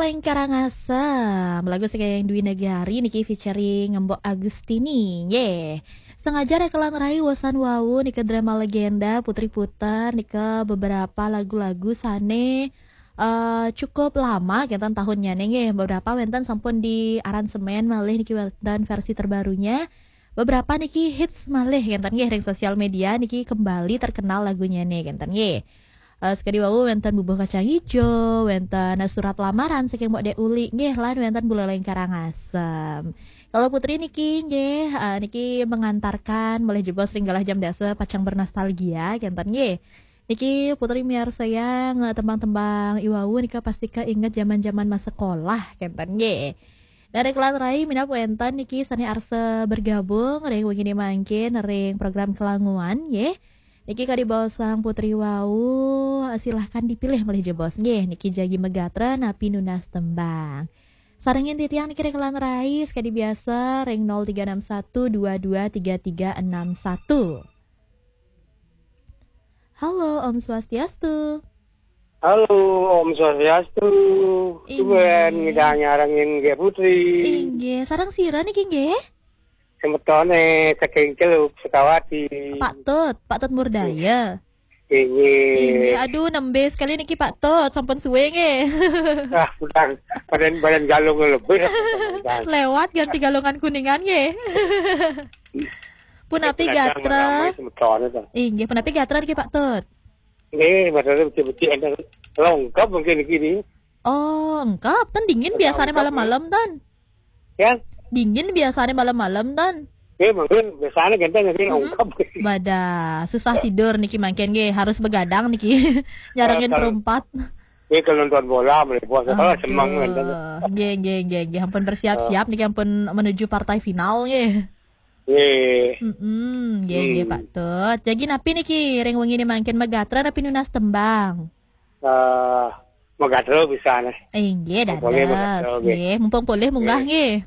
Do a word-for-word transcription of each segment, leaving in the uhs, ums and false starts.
Ing Karangasem, lagu saking Dwi Negari niki featuring Mbok Agustini. Nggih. Sengaja rekelan rai wesan wau nika drama legenda Putri Puter nika beberapa lagu-lagu sane eh, cukup lama kenten tahunnya nih nggih. Beberapa wenten sampun di aransemen malih niki wenten versi terbarunya. Beberapa niki hits malih kenten nggih ring sosial media niki kembali terkenal lagunya nih kenten nggih. Eh, sekadi wau wenten Bubuh Kacang Ijo, wenten Surat Lamaran saking Mbok Dek Uli nggih lan wenten Buleleng Karangasem. Kalau Putri niki nggih eh, niki mengantarkan malih jebos ring galah jam dasa pacang bernostalgia kenten nggih. Niki Putri miarsayang eh, tembang-tembang iwau nika pasti keinget zaman-zaman masa sekolah kenten nggih. Dan rekelan rai minap wenten niki sane arsa bergabung ring wengine mangkin ring program kelanguan nggih. Niki kadi bosang Putri wau, silahkan dipilih malih jebos nggih. Niki jagi megatra napi nunas tembang. Sarengin titiang niki rekelan rai sekadi biasa ring nol tiga enam satu dua dua tiga tiga enam satu. Halo, Om Swastiastu. Halo, Om Swastiastu. Inggih. Tuan ngidang nyarengin nggih Putri. Inggih, sareng sira niki nggih? Semetone saking Celuk Sukawati. Pak Tut, Pak Tut Murdaya. Inggih. Inggih, aduh nembe sekali niki Pak Tut, sampun suwe nggih. Ah, udah badan badan galung lebih. Lewat ganti galungan kuningan nggih. Punapi gatra. Semetone to. Inggih, punapi gatra niki Pak Tut. Nggih, maksudnya becik-becik enten lengkap mungkin niki ni. Oh, engkap. Tan dingin biasanya malam-malam tan. Ya? Dingin biasanya malam-malam tan. Ya, mungkin biasanya ganteng nggih lengkap. Wadah, susah tidur niki mangkin nggih, harus begadang niki. Nyarengin perumpat. Ya, kalau nonton bola, melihat bola, senang ganteng. Nggih, nggih, nggih, nggih. Ampun bersiap-siap niki ampun menuju partai final nggih. Nggih. Mm-mm, nggih, nggih, Pak Tut. Jadi napi niki ring wengi ni mangkin megatra napi nunas tembang? Eh, megatra bisa nih. Eh, nggih, dados. Nggih, mumpung polih munggah nggih.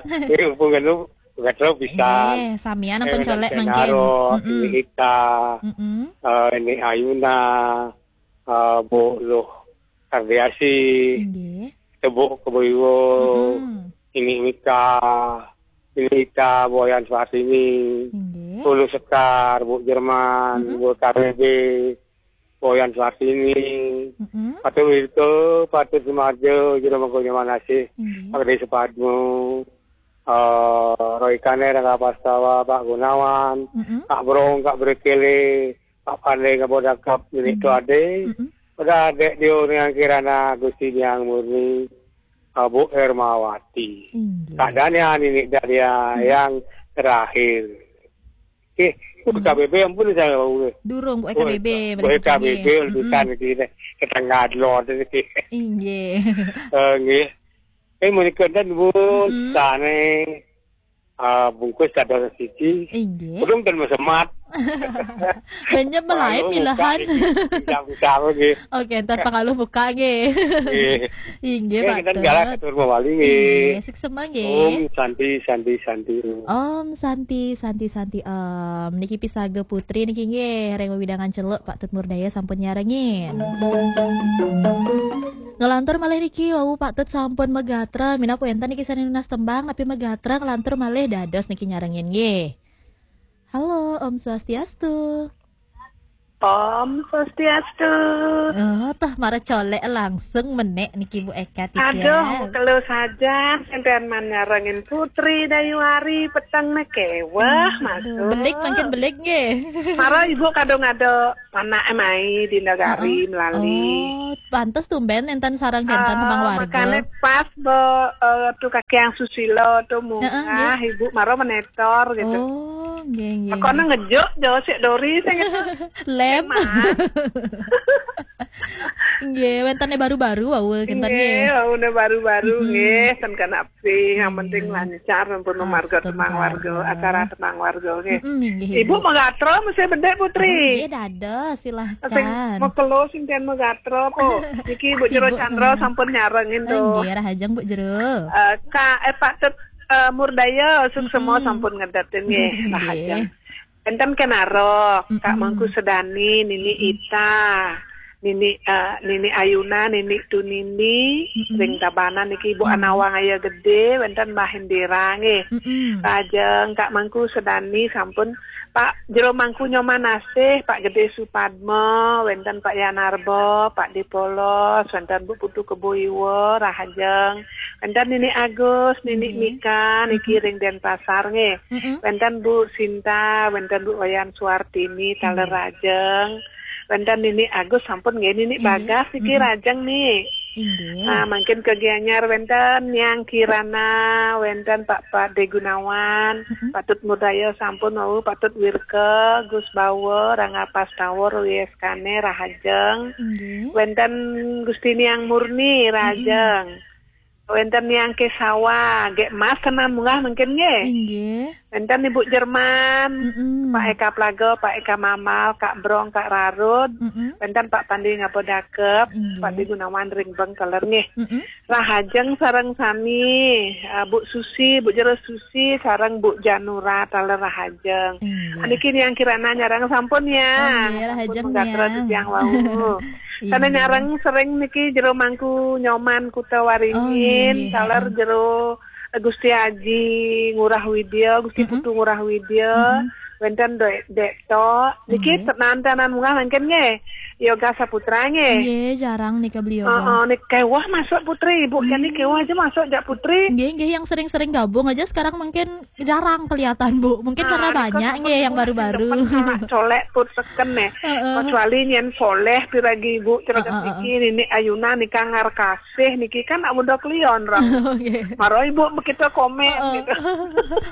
Nggih, mumpung anu megatra bisa. Nggih, samian ampun colek mangkin. Mm-mm. Ini Ita, mm-mm. Eh, ini Ayuna, eh, Bu Luh Kardiasi, nggih. Tebuk Keboiwo, mm-mm. Ini Mika, ini Ita, Boyan Suartini, nggih. Ulu Sekar, Bu Jerman, mm-mm. Bu K B B, Boyan Suartini, mm-mm. Patu Wirko, Patu Sumarjo, Jero Mangko Nyaman Asih, nggih. Pak Gede Supadmo, eh, Roy Kane, Rangga Pastawa, Pak Gunawan, mm-mm. Pak Brong, Kak Brekele, Pak Pandai, Kak Bodakap, Milik, mm-mm. Tuade, mm-mm. Udah adek dia orang kirana Gusti Yang Murni, eh, Bu Ermawati. Inggih. Keadaannya ini dah dia, mm-mm. Yang terakhir. Eh, Bu, mm-mm. K B B ampun saya tahu. Durung Bu K B B, oh, boleh Bu K B B, mm-mm. Urusan kita, kita ngadlor. Inggih. Eh, nggih. Eh, menika enten, Bu, mm-mm. Sane, ah, bungkus dados siji. Inggih. Urung ten mesemat. Banyak melai pangalo pilahan. Buka niki. Bisa-bisa nggih. Oke, entar pangalo buka nggih. Nggih. Inggih, nggih, Pak Tut. Kita galah atur mawali nggih. Inggih, suksema nggih. Om Santi, Santi, Santi. Om Santi, Santi, Santi, Om. Niki pisaga Putri niki nggih, ring wewidangan Celuk Pak Tut Murdaya sampun nyarengin. Ngelantur malih niki wau Pak Tut sampun megatra, minap wenten niki sane nunas tembang napi megatra ngelantur malih dados niki nyarengin nggih. Halo, Om Swastiastu. Om Swastiastu. Oh, tah mara colek langsung menek niki Bu Eka Tika. Aduh, kelo saja sampean man nyarengin Putri Dayuari peteng neke. Wah, aduh, masuk. Belik mangkin belik nggih. Mara Ibu kadung ada Panake mai di negari melali. Oh, pantes tumben enten sareng kenten tembang warga. Makane pas bo, eh, tu kaki yang susilo tu munggah, nggih. Ibu maro menetor gitu. Oh, nggih, nggih. Aku nang ngejuk jo sik dori sing itu. Lem. Mas. Nggih, wentene baru-baru wau kenten nggih. Nggih, wau baru-baru nggih, ten kena sing, yang penting lancar sampun marga tembang warga, acara tembang warga nggih. Mm-mm, nggih, Ibu. Ibu megatra mesti bedek Putri. Oh, nggih, dados, silahkan. Sing mekelo sing ten megatra po. Niki Bu Jero Chandra sampun nyarengin tuh. Nggih, rahajeng Bu Jero. Eh, Kak, eh, Pak Tut, eh, Murdaya, suksema sampun ngedatin nggih, rahajeng. Enten Kenaro, Kak Mangku Sedani, Nini Ita, Nini, eh, Nini Ayuna, Nini Tunini, Mm-mm. ring Tabanan niki, Ibu Iya. Anawang Aya Gede, wénten Mbah Indira nggih. Mm-mm. Lajeng Kak Mangku Sedani sampun, Pak Jero Mangku Nyoman Asih, Pak Gede Supadma, wénten Pak Yanarba, Pak Dipolos, wénten Bu Putu Kebo Iwa, rahajeng. Wénten Nini Agus, Nini Nggih. Mika, niki ring Denpasar nggih. Mm-mm. Wénten Bu Sinta, wénten Bu Wayan Suartini, taler Nggih. rajeng. Wénten Nini Agus sampun nggih, Nini Nggih. Bagas niki Mm-mm. rajeng nih. Inggih. Nah, mangkin ke Gianyar wénten Niang Kirana, wénten Pak Pak De Gunawan, Mm-mm. Patut Mudaya sampun wau, Patut Wirke, Gus Bawa, Rangga Pastawa, Ruyeskane, rahajeng. Inggih. Wénten Gusti Niang Murni, rahajeng. Wénten Niang Kesawa, nggih Mas kena munggah mangkin nggih. Inggih. Wénten Ibu Jerman, Mm-mm. Pak Eka Plaga, Pak Eka Mamal, Kak Brong, Kak Rarud. Mm-mm. Wénten Pak Pandi Ngapa Dakep, Inggih. Pak De Gunawan ring Beng taler nggih. Mm-mm. Rahajeng sareng sami, eh, Bu Susi, Bu Jero Susi, sareng Bu Janura taler rahajeng. Inggih. Niki Niang Kirana nyareng sampun ya. Oh, nggih, rahajeng, Sampun gatra Niang. Titiang wau. Sana Inggih. nyareng sering niki Jero Mangku Nyoman Kuta Oh, Waringin, nggih, nggih, taler heeh. Jero Gusti Aji Ngurah Widya, Gusti Mm-mm. Putu Ngurah Widya, Mm-mm. wénten Dek Dek Tok. Niki Nggih. tenan-tenan munggah mangkin nggih. Yoga Saputra nggih. Nggih, jarang nih ke beliau. Heeh, nih kewah masuk Putri, Ibu kene Hmm. kewah aja masuk jak Putri. Nggih, nggih, yang sering-sering gabung aja sekarang mungkin jarang kelihatan, Bu. Mungkin karena Nah, banyak niki nggih yang pun baru-baru. Colak, colak put seken nih. Heeh. Kecuali nyen soleh piragi Ibu cerita Heeh, heeh. Niki, Nini Ayuna nika ngar kasih niki kan amun do kelion ram. Oke. Maro Ibu kita komen Heeh. gitu.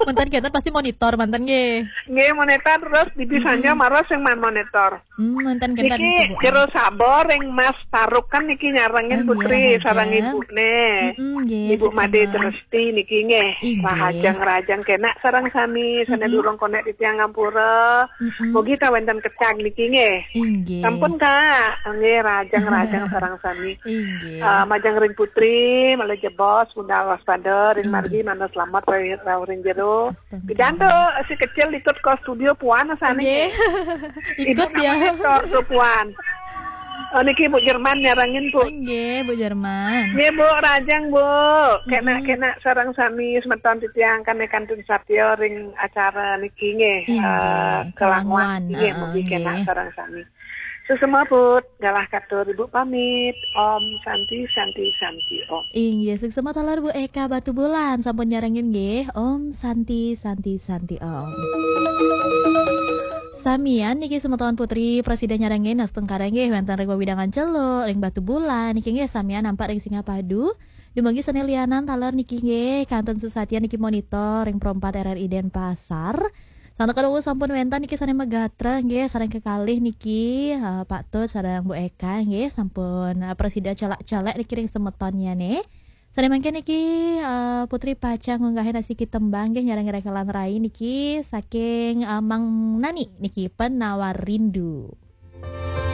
Mantan kita pasti monitor, mantan nggih. Nggih, monitor terus di bisanya Mm-mm. maro sing man monitor. Hmm, mantan kita Niki bisa, Bu. Jero Sabar ring Mas Taruk kan niki nyarengin Oh, nggih, Putri rahajeng. Sarang Ibune. Mm-mm, nggih, Ibu Made suksema. Teresti niki nggih. Inggih. Rahajeng-rahajeng kena sareng sami, sana Mm-mm. durung konek titiang ngampura. Mm-mm. Mugi ta wénten kecag niki nggih. Inggih. Sampun Kak, nggih rahajeng-rahajeng sareng sami. Inggih. Eh, majeng ring Putri, malih jebos, budal waspada, ring Inggih. Margi, manah selamat, rauh ring jero. Astaga. Pidan to, si kecil ikut ke studio puan sana Nggih. nggih. Ikut Ibu ya. Monitor tuh puan. Oh, niki Bu Jerman nyarengin Bu. Nggih, Bu Jerman. Nggih Bu, rahajeng Bu. Kena Mm-mm. kena sareng sami semeton titiang kane kantun satya ring acara niki nggih. Inggih, Eh, Kelangwan. Kelangwan nggih, Heeh, mugi kena nggih. sareng sami. Suksema put, galah katur Ibu pamit. Om Santi, Santi, Santi, Om. Inggih, suksema taler Bu Eka Batubulan sampun nyarengin nggih. Om Santi, Santi, Santi, Om. Samian niki semeton Putri Presiden nyarengin astungkara nggih wénten ring wewidangan Celuk, ring Batubulan niki nggih samian nampak ring Singapadu. Dumugi sane lianan taler niki nggih kantun sesatian niki monitor ring Pro empat R R I Denpasar. Santukan wau sampun wénten niki sane magatra nggih sareng kekalih niki, eh, Pak Tut sareng Bu Eka nggih sampun, eh, prasida celak-celek niki ring semetonnya nih. Sane mangkin niki, eh, Putri pacang ngunggahin asiki tembang nggih nyareng rekelan rai niki saking, eh, Mang Nani niki Penawar Rindu.